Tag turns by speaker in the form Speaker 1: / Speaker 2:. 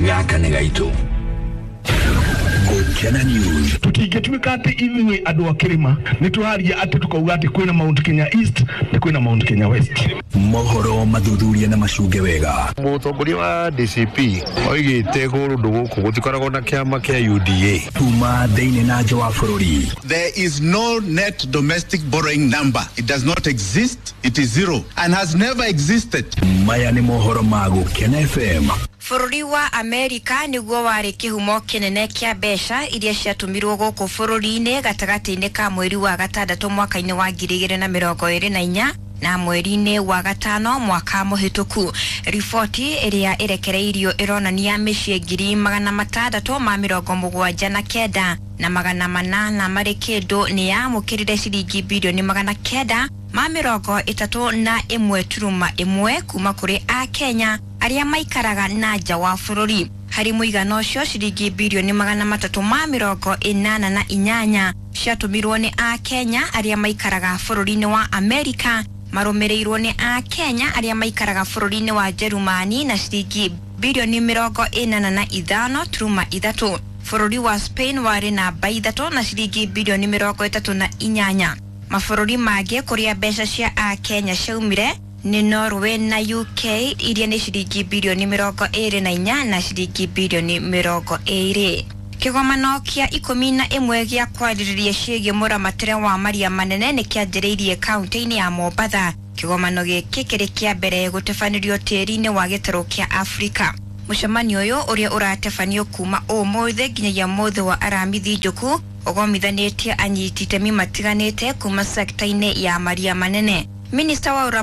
Speaker 1: Gaka nĩ gaitũ. Gũkena News.
Speaker 2: Tũtingĩtuĩka atĩ ithuĩ andũ a kĩrĩma nĩ tũraria atĩ tũkauga atĩ kwĩna Mount Kenya East na kwĩna Mount Kenya West.
Speaker 1: Mohoro mathuthuria na macunge wega.
Speaker 3: Mũtongoria wa DCP oigĩte kũndũ gũkũ gũtikoragwo na kĩama kĩa UDA.
Speaker 1: Kuma thĩinĩ na nja wa bũrũri.
Speaker 4: There is no net domestic borrowing number. It does not exist. It is zero and has never existed.
Speaker 1: Maya nĩ mohoro ma Gũkena FM.
Speaker 5: Bũrũri wa Amerika nĩguo warĩ kĩhumo kĩnene kĩa mbeca iria ciatũmirwo gũkũ bũrũri-inĩ gatagatĩ-inĩ ka mweri wa gatandatũ mwaka-inĩ wa 2024 na mweri-inĩ wa gatano mwaka mũhĩtũku. Riboti ĩrĩa ĩrekereirio ĩronania mĩciĩ 679,800 marĩ kĩndũ nĩ yamũkĩrire ciringi bilioni 931.1 kuma kũrĩ Akenya arĩa maikaraga na nja wa bũrũri. Harĩ mũigana ũcio ciringi bilioni 388 ciatũmirwo nĩ Akenya arĩa maikaraga bũrũri-inĩ wa Amerika, marũmĩrĩirwo nĩ Akenya arĩa maikaraga bũrũri-inĩ wa Jerumani na ciringi bilioni 85.3. Bũrũri wa Spain warĩ namba 3 na ciringi bilioni 38. Mabũrũri mangĩ kũrĩa mbeca cia Akenya ciaumire nĩ Norway na UK iria nĩ ciringi bilioni 24 na ciringi bilioni 20. Kĩgomano kĩa 11 gĩa kwarĩrĩria ciĩgiĩ mũramatĩre wa maria manene nĩ kĩanjĩrĩirie kaunti-inĩ ya Mombatha. Kĩgomano gĩkĩ kĩrĩ kĩa mbere gũtabanĩrio tĩri-inĩ wa gĩtarũ kĩa Afrika. Mũcemanio ũyũ ũrĩa ũratabanio kuma ũmũthĩ nginyagia mũthĩ wa Aramithi Njuku ũgomithanĩtie anyiti itemi matiganĩte kuma sekta-inĩ ya maria manene. Minista wa